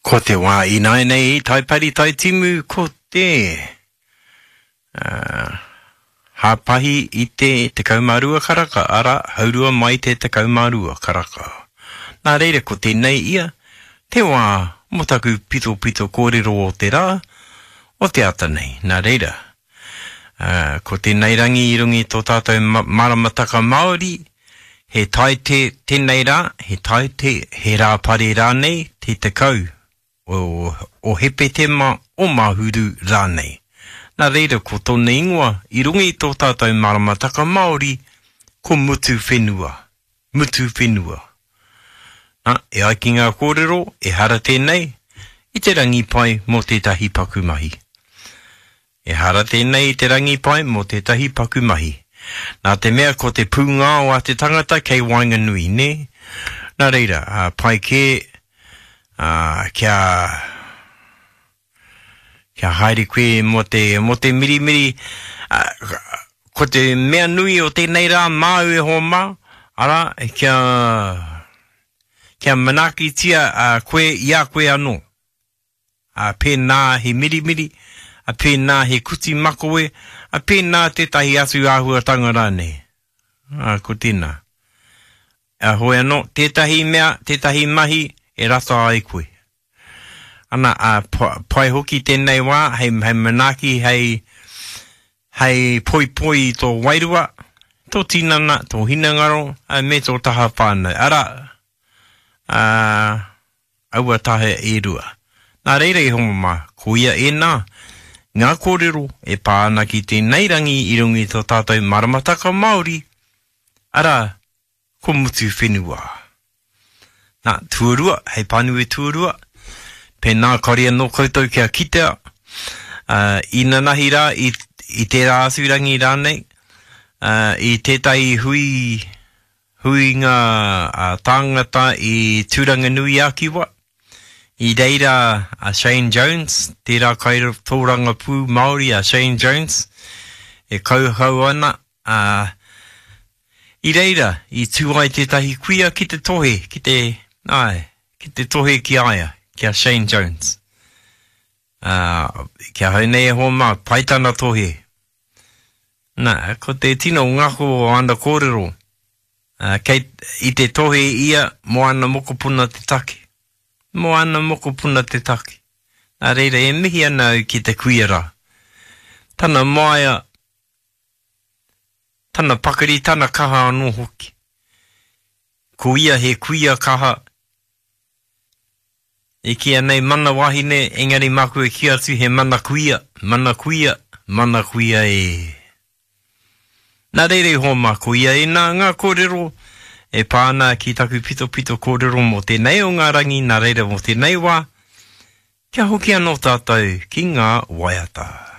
Ko te wā ināianei i Taipari Taitimu ko te uh, hāpahi i te 12 karaka, arā, haurua mai te 12 karaka. Nā reira ko tēnei ia, te wā mō taku pitopito kōrero o te rā, o te ata nei. Nā reira, uh, ko tēnei rangi i runga i tō tātou maramataka Māori, he taite tēnei rā, he taite, he rāpare rānei, te 10 o, o Hepetema, o Mahuru rānei. Nā reira ko tōna ingoa i runga i tō tātou maramataka Māori, ko Mutuwhenua. Mutuwhenua. Nā, e ai ki ngā kōrero, ehara tēnei i te rangi pai mō tētahi paku mahi. Ehara tēnei i te rangi pai mō tētahi paku mahi. Nā te mea ko te pūngao a te tangata kei waenganui, nē? Nā reira, pai kē, ā, kia, kia haere koe mō te, mō te mirimiri, ā, ko te mea nui o tēnei rā māu e hoa mā, arā, kia, kia manaakitia koe i a koe anō. ā, pēnā he mirimiri, ā, pēnā he kuti makawe, ā, pēnā tētahi atu āhuatanga rānei. Ā, ko tēnā. Ā, hoi anō, tētahi mea, tētahi mahi e rata ai koe. Ana, ā, pai hoki tēnei wā hei, hei manaaki, hei, hei poipoi i tō wairua, tō tinana, tō hinengaro, ā, me tō taha whānau. Arā, ā, aua taha e rua. Nā reira e hoa mā, koia ēnā ngā kōrero e pā ana ki tēnei rangi i runga i tō tātou maramataka Māori, arā, ko Mutuwhenua. Nā, tuarua, hei pānui tuarua, pēnā kāore anō koutou kia kitea, ā, inanahi rā, i, i tērā atu rangi rānei, ā, i tētahi hui Huinga tāngata i Tūranganui-a-Kiwa. I reira a Shane Jones, tērā kaitōrangapū Māori a Shane Jones, e kauhau ana, ā, i reira i tū ai tētahi kuia ki te tohe, ki te, āe, ki te tohe ki a ia, ki a Shane Jones. Ā, ki ahau nei e hoa mā, pai tana tohe. Nā, ko te tino ngako o ana kōrero, ā, kei, i te tohe ia mō ana mokopuna te take. Mō ana mokopuna te take. Nā reira, e mihi ana au ki te kuia rā. Tana māia, tana pakari, tana kaha anō hoki. Ko ia he kuia kaha, E kīia nei mana wahine, engari māku e kī atu he mana kuia, mana kuia, mana kuia e. Nā reira i hoa mā, ko ia ēnā ngā kōrero e pā ana ki taku pitopito kōrero mō tēnei o ngā rangi, nā reira mō tēnei wā, kia hoki anō tātou ki ngā waiata.